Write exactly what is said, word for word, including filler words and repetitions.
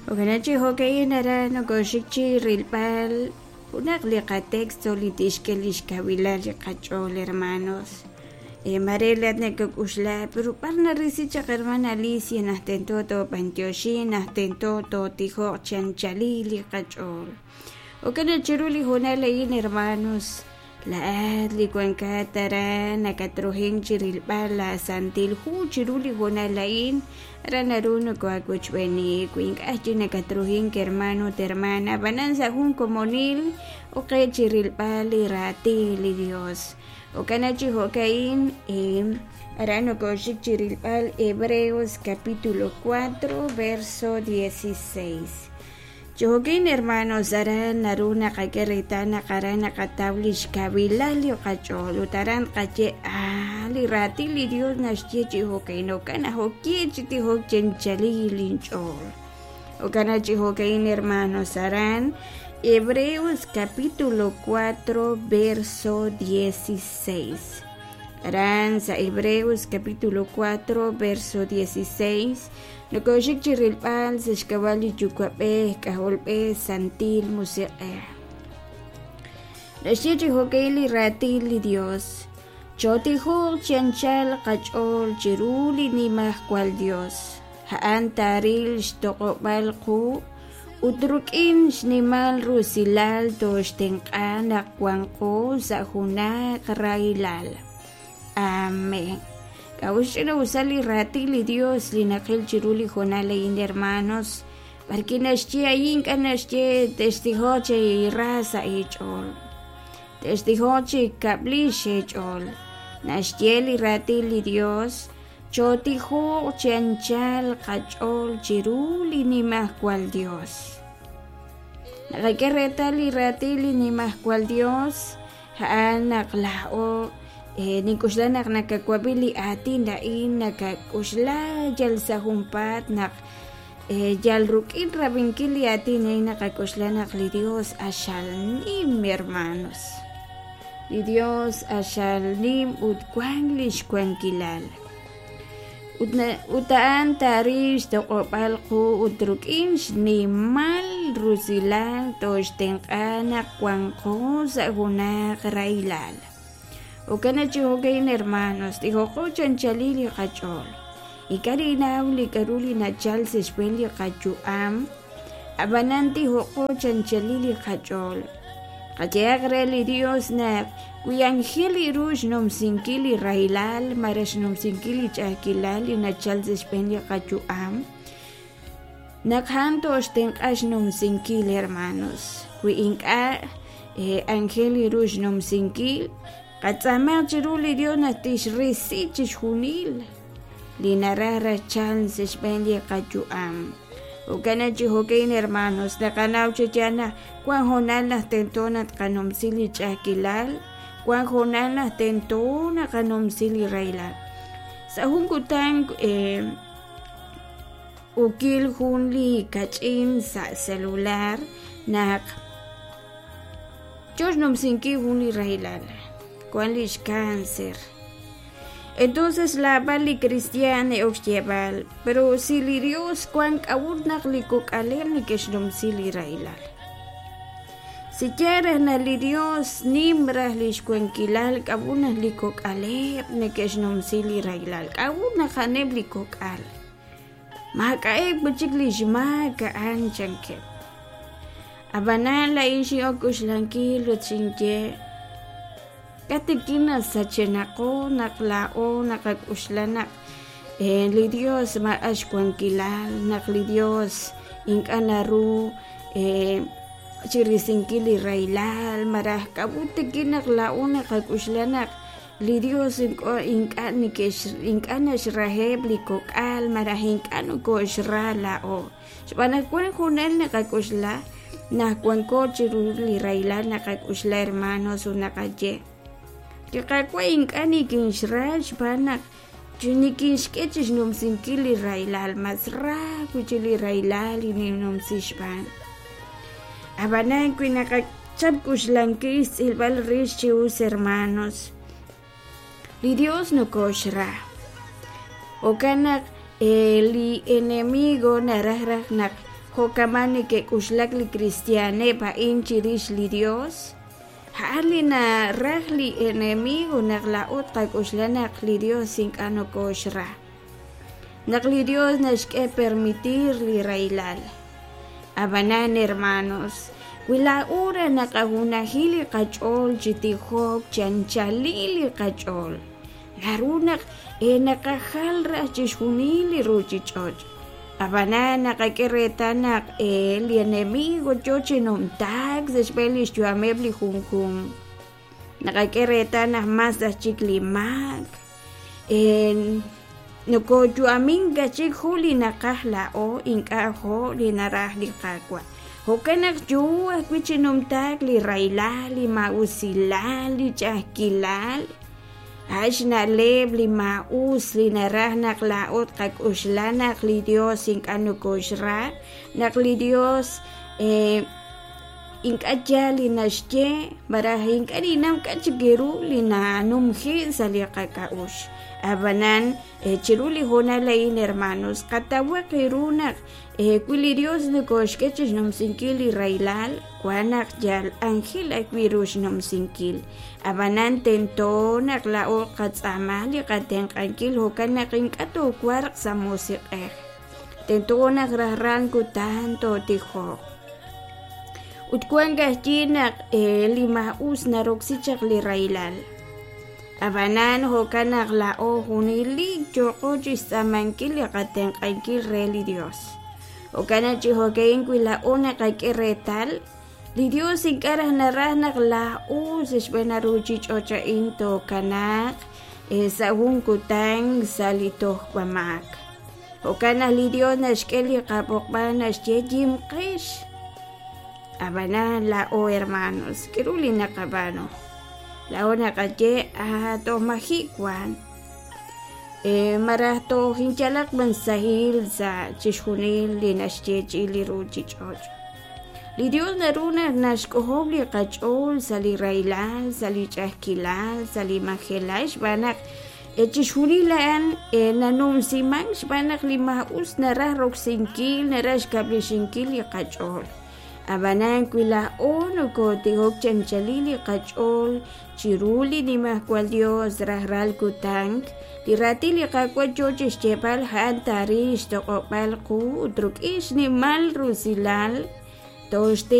Jo'kan chi jo'ka'in aran nokoxik chi rilb'al junaq li qatexto li tixk'e lix kawilal li qach'ool, hermanos. Mare laat nakak'uxla, pero b'ar narisi chaq, hermana Alicia, naq tento toob'antioxin, naq tento tootijoq chi anchalil li qach'ool? Jo'kan chiru li hoonal a'in, hermanos, laat li wankat aran nakatruhin chi rilb'al la Santil Hu chiru li hoonal a'in, aran naru nokoawochb'eeni. Wi ink'a' chi nakatruhin, hermano ut hermana, ab'anan sa' jun komonil oqe chi rilb'al li raatin li Dios. Jo'kan chi jo'ka'in aran nokoxik chi rilb'al Hebreos capítulo cuatro verso dieciséis. Chi jo'kin, hermanos, aran naru naqak'e reetal naq aran naqataw lix kawilal li qach'ool ut aran tqaye ah li raatin li Dios naxye chi jo'ka'in, jo'kan naq okie chi tijok chi anchalil linch'ool. Jo'kan chi jo'ka'in, hermanos, aran Hebreos capítulo cuatro verso dieciséis. Aran sa Hebreos capítulo cuatro verso dieciséis nokoxik chi rilb'al sa xk'ab'a' li Yuwa'b'ej, K'ajolb'ej, Santil Musiq'ej. Naxye chi jo'ka'in li raatin li Dios: Chootijoq chi anchal qach'ool chiru li Nimajwal Dios, a'an taaril xtoq'ob'al qu ut rik'in xnimal rusilal tooxtenq'a naq wanqo sa' junaq rahilal. Amén. K'a'ut xch'ina'usal li raatin li Dios li naqil chiru li hoonal a'in, hermanos? B'arki naxye a'in ink'a' naxye textijoq chi ra sa' eech'ool, textijoq chi kab'lix eech'ool. Naxye li raatin li Dios: chootijoq chi anchal qach'ool chiru li Nimajwal Dios. Naqak'e reetal li raatin li Nimajwal Dios a'an naq laa'o nink'uxla naq nakawab'i li aatin a'in nakak'uxla yal sa' junpaat naq yal rik'in rab'inkil li aatin a'in naqak'uxla naq li Dios axal nim, hermanos. Li Dios axal nim ut wank lix wankilal. Ut a'an taaril xtoq'ob'al qu ut rik'in xnimal rusilal tooxtenq'a naq wanqo sa' junaq rahilal. Jo'kan chi jo'ka'in, hermanos, tijoqo chi anchalil li qach'ool. Ink'a' ninaw li k'a'ru li nachal sa' xb'een li qayu'am, ab'anan tijoqo chi anchalil li qach'ool. Qayehaq re li Dios naq wi anjel ru xnumsinkil li rahilal malaj xnumsinkil li ch'a'ajkilal li nachal sa' xb'een li qayu'am, naq a'an tooxtenq'a xnumsinkil, hermanos. Wi ink'a' anjel ru xnumsinkil, qatz'aamaq chiru li Dios naq tixrisi chixjunil li naraj rachal sa' xb'een li qayu'am. Jo'kan chi jo'ka'in, hermanos, naqanaw chi yaal naq wan hoonal naq tento naq tqanumsi li ch'a'ajkilal, wan hoonal naq tento naqanumsi li rahilal. Sa' jun kutan ukil jun li kach'in sa' celular naq yo xnumsinkil jun li rahilal, wan lix cáncer. Entonces laab'al li cristian e'ok xyeeb'al, pero si li Dios wan k'a'ut naq li kok'aleb' neke'xnumsi li rahilal. Si yaal raj naq li Dios nim raj lix wankilal, k'a'ut naq li kok'aleb' neke'xnumsi li rahilal, k'a'ut naq a'aneb' li kok'al maak'a'eb' chik lix maak a'an chankeb'. Ab'anan la'in xin'ok k'uxlankil ut xinye k'atikin nasachenaqo naq laa'o naqak'uxla naq li Dios maak'a' xwankilal, naq li Dios ink'a' naru chirisinkil li rahilal, malaj k'a'ut tikin naq laa'o naqak'uxla naq li Dios ink'a' ink'a' naxraheb' li kok'al malaj ink'a' nokoxra laa'o. Xb'aan naq wan junal naqak'uxla naq wanko chiru li rahilal naqak'uxla, hermanos, ut naqaye li Qaawa' ink'a' nikinxra xb'aan naq nikinxk'e chi xnumsinkil li rahilal, mas ra wi' chik li rahilal li ninnumsi xb'aan. Ab'anan wi naqachap k'uxlankil xtz'ilb'al rix chi us, hermanos, li Dios nokoxra. Jo'kan naq li enemigo naraj raj naq Jo'kaman neke'k'uxlak li cristianeb' a'in chirix li Dios? A'an li naraj li enemigo naq laa'o tqak'uxla naq li Dios ink'a' nokoxra. Naq li Dios naxk'e permitir li rahilal. Ab'anan, hermanos, wi laa'o raj naqajunaji li qach'ool chi tijok chi anchalil li qach'ool, naru naq e naqajal raj chixjunil li ruchich'och'. Ab'anan naqak'e reetal naq e li enemigo yo chi numtaak sa' xb'een li xyu'ameb' li junjunq. Naqak'e reetal naq mas aj chik li maak. E nokoyu'amink aj chik ju li naqaj laa'o ink'a' jo' li naraj li Qaawa'. Jo'kan naq yo ajwi' chi numtaak li rahilal, li maa'usilal, li ch'a'ajkilal. A'an xna'leb' li maa'us li naraj naq laa'o tqak'uxla naq li Dios ink'a' nokoxra, naq li Dios eh, ink'a' yaal li naxye, malaj ink'a' ninnaw k'a' chik ru li nanumji sa' li qak'a'uxl. Ab'anan eh, chiru li hoonal a'in, hermanos, qatawaq ru naq eh, wi li Dios nokoxk'e chi xnumsinkil li rahilal, wan naq yal anjel ajwi' ru xnumsinkil. Ab'anan tento naq laa'o qatz'aama li qatenq'ankil jo'kan naq ink'a' toowarq sa' musiq'ej. Tento naq rajlal kutan tootijoq. Ut wank ajwi' naq eh, li maa'us naroksi chaq li rahilal. Ab'anan jo'kan naq laa'o junelik yooqo chi xtz'aamankil li qatenq'ankil re li Dios. Jo'kan naq chi jo'ka'in wi laa'o naqak'e reetal, li Dios ink'a' raj naraj naq laa'o sa' xb'een ruchich'och' a'in tookanaaq eh, sa' jun kutan sa' li tojb'amaak. Jo'kan naq li Dios naxk'e li qab'oqb'al naxye yimqex. Ab'anan laa'o hermanos, k'aru li naqab'aanu? Laa'o naqaye ah toj maji' wan. Eh, malaj toj inyalaq b'an sahil sa' chixjunil li naxyeechi'i li ruchich'och'. Li Dios naru naq naxk'ojob' li qach'ool sa' li rahilal, sa' li ch'a'ajkilal, sa' li majelal xb'aan naq eh, chixjunil a'an eh, nanumsiman xb'aan naq li maa'us naraj roksinkil, naraj xkab'lexinkil li qach'ool. Ab'anan wi laa'o nokotijok chi anchalil li qach'ool chiru li Nimajwal Dios rajlal kutan, li raatin li Qaawa' yo chi xyeeb'al a'an taaril xtoq'ob'al qu ut rik'in xnimal rusilal tooxtenq'a.